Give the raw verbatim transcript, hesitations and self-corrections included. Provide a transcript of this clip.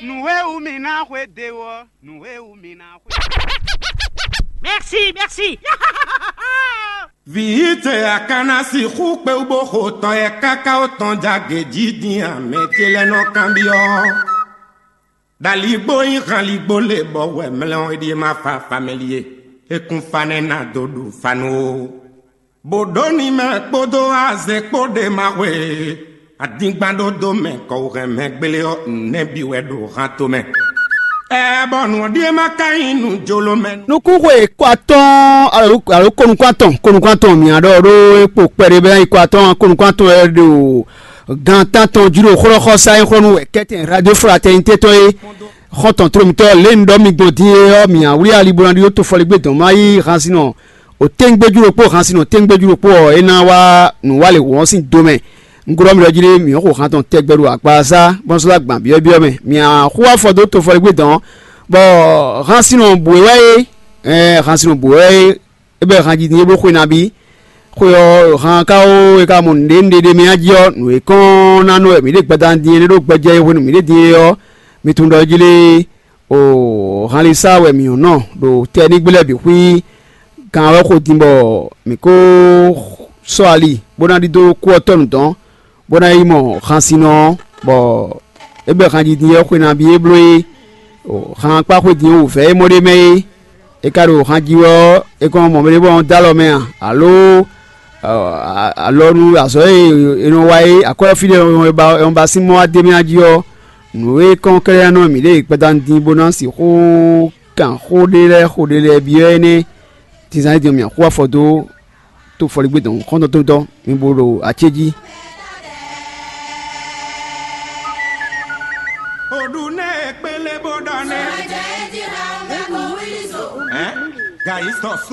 Nǔ e wú mi ná xwedó ɔ́, nǔ e wú mi ná xwedó. Merci, merci. Vǐ ce a ka ná sixú kpé wú bó xo tɔ yɛ káká ó tɔn jagě jí din a? Mɛ ce lɛ́ɛ nɔ kanbyɔ́. Ɖo aligbó nyí han aligbó lě bɔ wɛ mlɛ́ ɔ́, é ɖíe ma fa famɛli e. É kún fa nɛ́ ná dó ɖu fa nú ó. Bó ɖó ní mɛ kpódó azɛ kpó ɖe ma hwe. Adingban ɖó dó mɛ kɔ wú hɛn mɛ gbélé ɔ́, nɛ́ bǐ wɛ ɖo han tomɛ. Ɛ bɔ nǔ ɔ́ ɖíe ma ka nyí nǔ jolo mɛ. Nukúnxwe kó atɔ́ɔ́n alo alo kó nukún atɔn, kó nukún atɔn mǐ á ɖɔ ɖó é kpo kpɛɖé bɛ́ ná yi kó atɔ́ɔ́n, kó nukún atɔn wɛ ɖo gan tántɔn jí ɖo xlɔ́xɔ́sá e xlɔ́ nú wɛ kɛ́tɛn Radio Fraternité tɔn é. Xɔ́ntɔn tló mǐtɔn lě un ɖɔ mi gbɔn din é ɔ́, mǐ á wlí ali bó ná ɖó tofɔligbé dɔn má yí hansinɔ òténgbéjú ɖokpó, hansinɔ òténgbéjú ɖokpó ɔ́, é ná wá nǔwalěhú ɔ́ sín do mɛ. Un glɔ́ mi ɖɔ jí ɖé mǐ xo han tɔn tɛgbɛ ɖo akpasá bɔ́ sɔ́ dó agban byɔ́byɔ́ mɛ. Mǐ á xo afɔ dó tofɔligbé dɔn, bɔ hansinɔ bǔ é wɛ é, ɛɛ hansinɔ bǔ é wɛ é, é bɛ́ han jí din é bló xwe nabí. Xwe ɔ́, han ka ó, é ka mɔ nǔɖé nǔɖé ɖé mɛ jí ɔ́, nǔ e kɔn ná nɔ wɛ mǐ ɖe gbada din é ɖó gbɛjɛ e hwenu mǐ ɖe din é ɔ́, mi tunwun ɖɔ é jí lé. O hanlisa wɛ mǐ nɔ ɖo tɛnígbe lɛ́ɛ bǐ xwí. Gan wɛ xo din bɔ mǐ ko sɔ́ ali bó ná ɖidó kú ɔ́ tɔ́ nǔ dɔn, bó ná yi mɔ hansinnɔ ɔ́, bɔ é bɛ́ hanjidin ɔ́ xwe nabí é bló é. Han kpá xwe din wǔvɛ́ e mɔ ɖ'é mɛ é. É ka ɖo han ji wɛ ɔ́, é kɔn mɔ mɛ ɖé bɔ ɔ́ dó alɔ mɛ a, alo alɔnu azɔ̌ e è nɔ wa é, akwɛ́ ɔ́ fí ɖé è nɔ ba sín mɔ wá d'é mɛ a jí ɔ́, nǔ e kɔn kɛ́ɖɛ́ ná nɔ mǐ ɖe gbadanu din bó ná sixú kan xó ɖé lɛ́ɛ xó ɖé lɛ́ɛ byɔ́ énɛ́. Din zán é din ɔ́, mǐ axú afɔ dó tó fɔligbé dɔn xɔ́ntɔn tó dɔn mi bo ɖo acéjí. Oɖu nɛ kpele bó ɖɔ nɛ. Ɛn? Gayisɔ so.